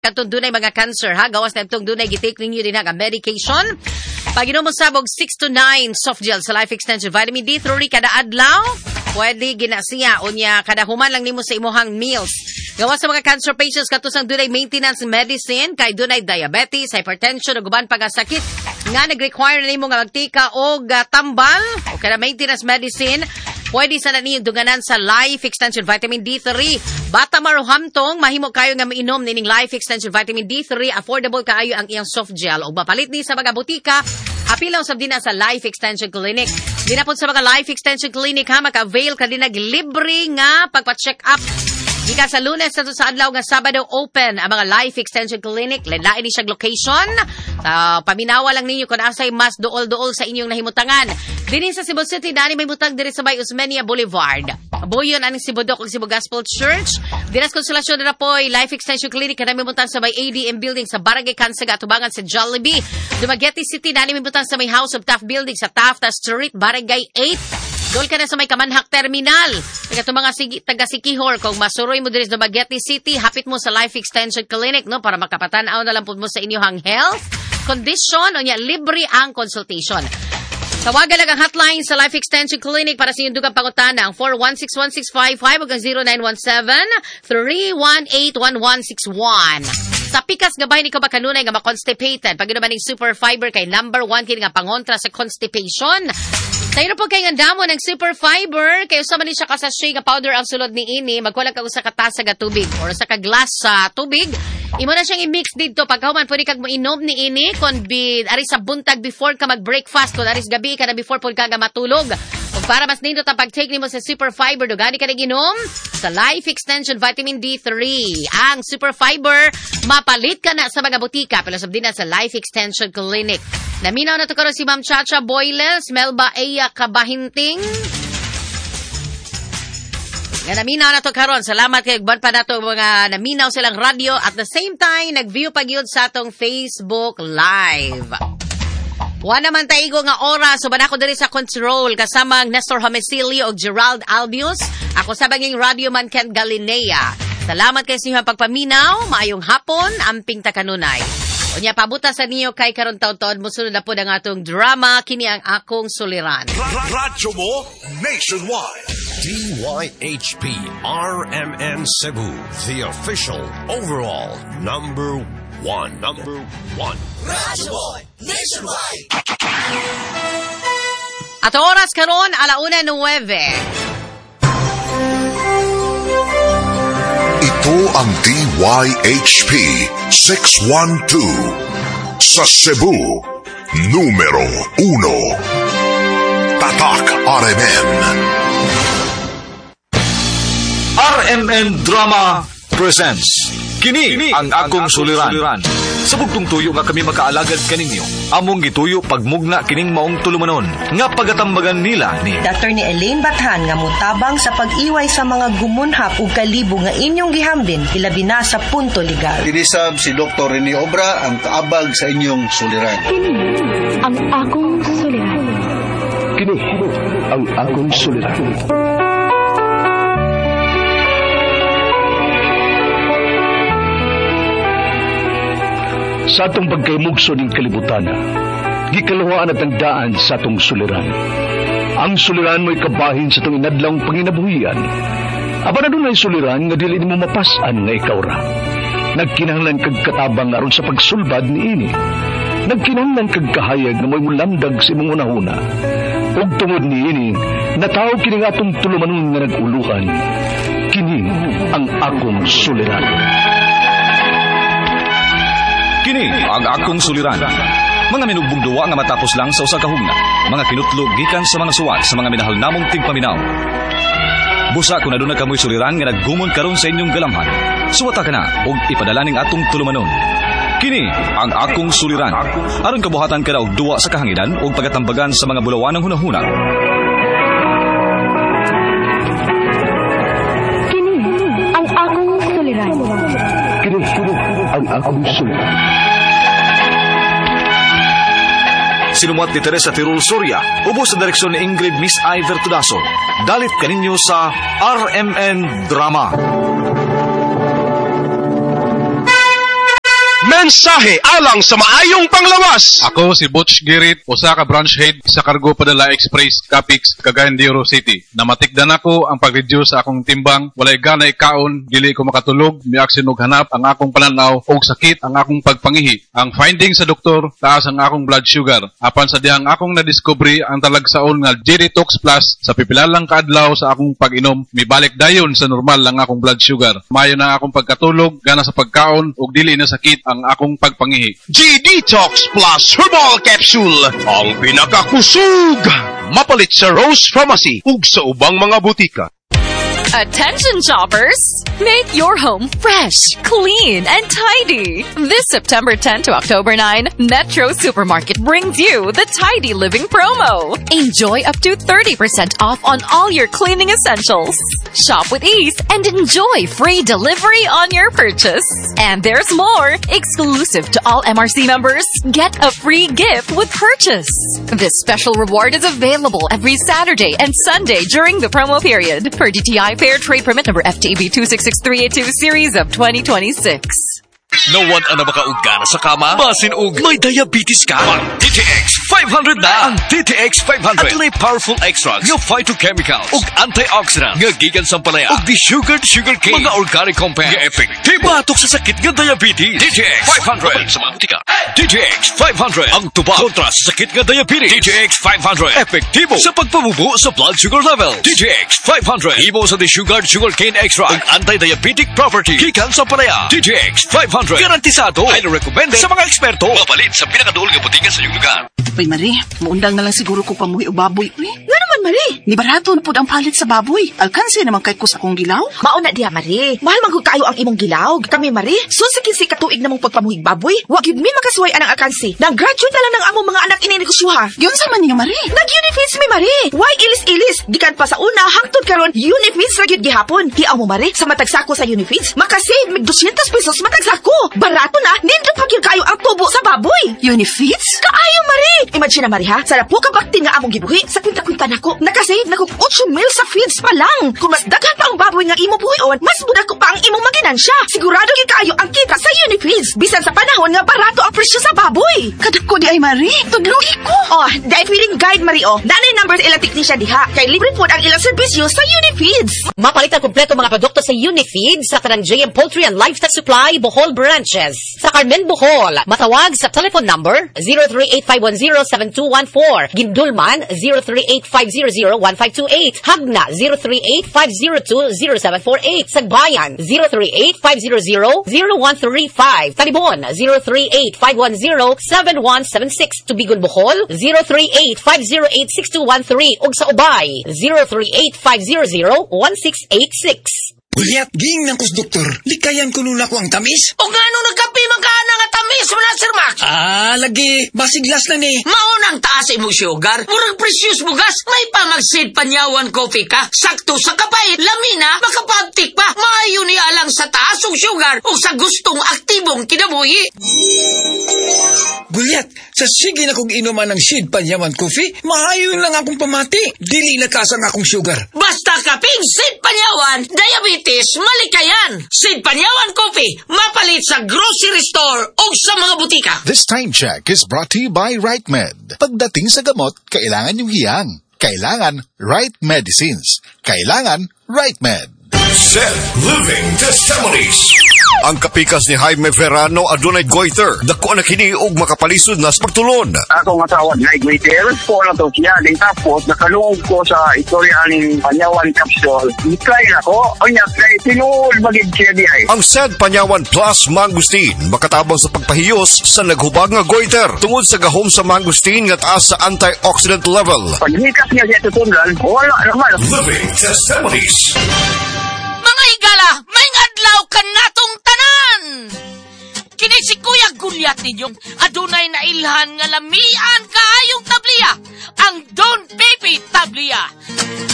Katong dunay mga cancer ha, gawas na itong dunay gitake ninyo din nga medication. Pag-inom mo sabog 6 to 9 soft gel sa Life Extension Vitamin D3 kada adlaw, pwede gina siya unya kada human lang nimo sa imuhang meals. Gawas sa mga cancer patients katusang dunay maintenance medicine kay dunay diabetes, hypertension ug uban pa nga sakit nga nag-require nimo nga magtika og tambal o kada maintenance medicine. Pwede sa na ninyo duganan sa Life Extension Vitamin D3. Bata maruhamtong, mahimo kayo nga mainom nining Life Extension Vitamin D3. Affordable kaayo ang iyang soft gel. O mapalit ni sa mga butika, apilaw sab din na sa Life Extension Clinic. Di na po sa mga Life Extension Clinic ha, maka-avail ka din libre nga pagpa-check up. Gikan sa Lunes sa sa adlaw nga Sabado open ang mga Life Extension Clinic. Lain ni siyang location. Paminawa lang ninyo kung asay mas duol-duol sa inyong nahimutangan. Dinin sa Cebu City, dani may butang diri sa may Osmeña Boulevard. Buyon aning Cebu Doc ug Cebu Gospel Church. Dinas Consolacion na poy Life Extension Clinic kanami butang sa may ADM Building sa Barangay Kansaga atubangan sa Jollibee. Dumaguete City dani may butang sa may House of Taft Building sa Taft Street, Barangay 8. Dool ka na sa may Kamanhak Terminal. Kaya itong mga taga Sikihor, kung masuroy mo diri sa Dumaguete City, hapit mo sa Life Extension Clinic, no, para makapatan-aw na lang po mo sa inyong health condition o niya, libre ang consultation. Tawagan lang ang hotline sa Life Extension Clinic para sa inyong dugang pangutana ang 4161655 ug ang 0917-318-1161. Sa pikas gabay ni ka ba kanunay nga ma-constipated? Pag inuman ning super fiber kay number 1 kini nga pangontra sa constipation. Tayo po kay nga damo ng super fiber kay usa man ni siya ka sachet nga powder ang sulod ni ini, magkulang ka usa ka tasa nga tubig or usa ka glass sa tubig. Imo na siyang i-mix didto pagkahuman pwede kag moinom ni ini kon bi ari sa buntag before ka mag-breakfast, kon ari sa gabi ka na before pud ka nga matulog. Ug para mas nindot ang pag-take nimo sa super fiber, dugani ka inom sa Life Extension Vitamin D3. Ang super fiber mapalit ka na sa mga butika pero sab din na sa Life Extension Clinic. Naminaw na to karon si Ma'am Chacha Boyles, Melba Eya Kabahinting. Nga naminaw na to karon. Salamat kay uban pa nato mga naminaw silang radyo at the same time nag-view pa gyud sa atong Facebook Live. Wa naman taigo nga oras, uban ako diri sa control kasama ang Nestor Homicilio ug Gerald Albius. Ako sa banging radio man Ken Galinea. Salamat kay sa inyong pagpaminaw, maayong hapon, amping ta kanunay. Unya pabuta sa niyo kay karon taon-taon mosunod na pod ang atong drama kini ang akong suliran. Radyo mo nationwide. DYHP RMN Cebu, the official overall number 1. Number 1. Radyo mo nationwide. At oras karon 1:09. Ito ang DYHP 612 sa Cebu, numero 1. Tatak RMN. RMN Drama presents Kini ang akong suliran. Sa bugtong tuyo nga kami makaalagad kaninyo, among gituyo pagmugna kining maong tulumanon nga pagatambagan nila ni Attorney Elaine Bathan nga mutabang sa pag-iway sa mga gumunhap ug kalibo nga inyong gihambin ilabi na sa punto legal. Kinisab si Dr. Rene Obra ang kaabag sa inyong suliran. Kini ang akong suliran. Kini ang akong suliran. Sa atong pagkaymugso ning kalibutan, gikaluhaan at ang daan sa atong suliran. Ang suliran mo'y kabahin sa atong inadlawng panginabuhian. Apan adunay suliran nga dili nimo mapas-an nga ikaw ra. Nagkinahanglan kag katabang aron sa pagsulbad niini. Nagkinahanglan kag kahayag nga mo'y mulamdag sa imong hunahuna. Ug tungod niini, nataw kini nga atong tulumanon nga nag-uluhan. Kini ang akong suliran. Kini ang akong suliran. Mga minugbong duwa nga matapos lang sa usa ka hugna. Mga kinutlo gikan sa mga suwat sa mga minahal namong tigpaminaw. Busa kung aduna kamoy suliran nga naggumon karon sa inyong galamhan. Suwata ka na og ipadala ning atong tulumanon. Kini ang akong suliran. Aron kabuhatan ka na og duwa sa kahanginan og pagatambagan sa mga bulawanang hunahuna. Kini ang akong suliran. Kini ang akong suliran. Sinumuat ni Teresa Tirul Soria, ubos sa direksyon ni Ingrid Miss Iver Tudaso. Dalit kaninyo sa RMN Drama. Mensahe alang sa maayong panglawas. Ako si Butch Girit, usa ka branch head sa Cargo Padala Express, Capix, Cagayan de Oro City. Namatikdan ako ang pag-reduce sa akong timbang, walay gana ikaon, dili ko makatulog, miaksyon og hanap ang akong pananaw og sakit ang akong pagpangihi. Ang finding sa doktor, taas ang akong blood sugar. Apan sa dihang akong nadiskubre ang talagsaon nga G-Detox Plus sa pipila lang kaadlaw sa akong pag-inom, mibalik dayon sa normal ang akong blood sugar. Maayo na akong pagkatulog, gana sa pagkaon ug dili na sakit ang akong pagpangihi. G-Detox Plus Herbal Capsule, ang pinakakusog! Mapalit sa Rose Pharmacy ug sa ubang mga butika. Attention shoppers! Make your home fresh, clean, and tidy. This September 10 to October 9, Metro Supermarket brings you the Tidy Living promo. Enjoy up to 30% off on all your cleaning essentials. Shop with ease and enjoy free delivery on your purchase. And there's more! Exclusive to all MRC members, get a free gift with purchase. This special reward is available every Saturday and Sunday during the promo period. Per DTI Fair Trade Permit number FTEB 266382 series of 2026. Nawad-an na ba ka og gana sa kama? Basin og may diabetes ka? Mag DTX 500 na! Ang DTX 500 adunay powerful extracts nga phytochemicals ug antioxidant nga gikan sa ampalaya ug desugared sugar cane, mga organic compounds nga epektibo batok sa sakit nga diabetes. DTX 500 sa mga butika. DTX 500 ang tubag kontra sa sakit nga diabetes. DTX 500 epektibo sa pagpabubo sa blood sugar level. DTX 500 himo sa desugared sugar cane extract ug anti-diabetic property gikan sa ampalaya. DTX 500 garantisado, highly recommended sa mga eksperto. Mapalit sa pinakaduol nga butika sa inyong lugar. Uy, Marie, muundang na lang siguro ko pamuhi og baboy. Uy, Nga naman, Marie? Ni barato na pud ang palit sa baboy. Alkanse naman kay ko sa akong gilaw. Mao na diha, Marie. Mahal man gud kaayo ang imong gilaw. Kami, Marie, sus sa 15 ka tuig namong pagpamuhig baboy, wa gyud mi makasuway anang alkanse. Nang graduate na lang ng among mga anak ini negosyoha. Giunsa man ninyo, Marie? Nag-Unifeeds mi, Marie. Why ilis-ilis? Gikan pa sa una hangtod karon, Unifeeds ra gyud gihapon. Hiaw mo, Marie, sa matag sako sa Unifeeds, makasave mig 200 pesos matag sako. Barato na, nindot pa gyud kaayo ang tubo sa baboy. Unifeeds? Kaayo, Marie. Imagine na, Marie, ha? Sa lapo ka baktin nga among gibuhi, sa kwinta-kwinta nako, nakasave na kog 8 mil sa feeds pa lang. Kung mas daghan pa ang baboy nga imo buhion, mas mudako pa ang imong maginansya. Sigurado gyud kaayo ang kita sa Unifeeds. Bisan sa panahon nga barato ang presyo sa baboy. Kadako diay, Marie. Tudlogi ko. Oh, dahil feeling guide, Marie, oh. Nanay number ilang technician diha. Kay libre pod ang ilang serbisyo sa Unifeeds. Mapalit ang kompleto mga produkto sa Unifeed sa tanang JM Poultry and Livestock Supply Bohol branches. Sa Carmen, Bohol, matawag sa telephone number 0385107214. Guindulman 0385001528. Jagna 0385020748. Sagbayan 0385000135. Talibon 0385107176. Tubigon, Bohol 0385086213 ug sa Ubay 0385001686. Gulyat, giingnan ko sa doktor. Likayan ko nuna ko ang tamis. O ngano nagkape man ka na nga tamis mo na, Sir Max? Ah, lagi. Basiglas na ni. Maunang taas imong sugar. Murag precious bugas. May pa mag-Sid Panyawan coffee ka. Sakto sa kapait. Lamina, makapabtik pa. Maayo ni alang sa taas og sugar o sa gustong aktibong kinabuhi. Gulyat, sa sige na kong inuman ng Sid Panyawan Coffee, maayo lang akong pamati. Dili na taas ang akong sugar. Basta kaping Sid Panyawan, diabetes malikayan. Sid Panyawan Coffee, mapalit sa grocery store o sa mga butika. This time check is brought to you by RiteMed. Pagdating sa gamot, kailangan yung hiyang. Kailangan right medicines. Kailangan RiteMed. Set Living Testimonies. Ang kapikas ni Jaime Verano adunay goiter. Dako na kini og makapalisod na sa pagtulon. Akong asawa na goiter po na to siya. Din tapos nakalungog ko sa istorya aning Panyawan capsule. Itry na ko. Unya kay tinuod magid siya di ay. Ang Said Panyawan Plus Mangosteen makatabang sa pagpahiyos sa naghubag nga goiter tungod sa gahom sa mangosteen nga taas sa antioxidant level. Paghikas niya siya tutunlan, wala naman. Living Testimonies. Mga higala, may adlaw kanatong tanan! Kini si Kuya Gulyat ninyong adunay nailhan nga lamian kaayong tabliya, ang Don Pepe Tablia.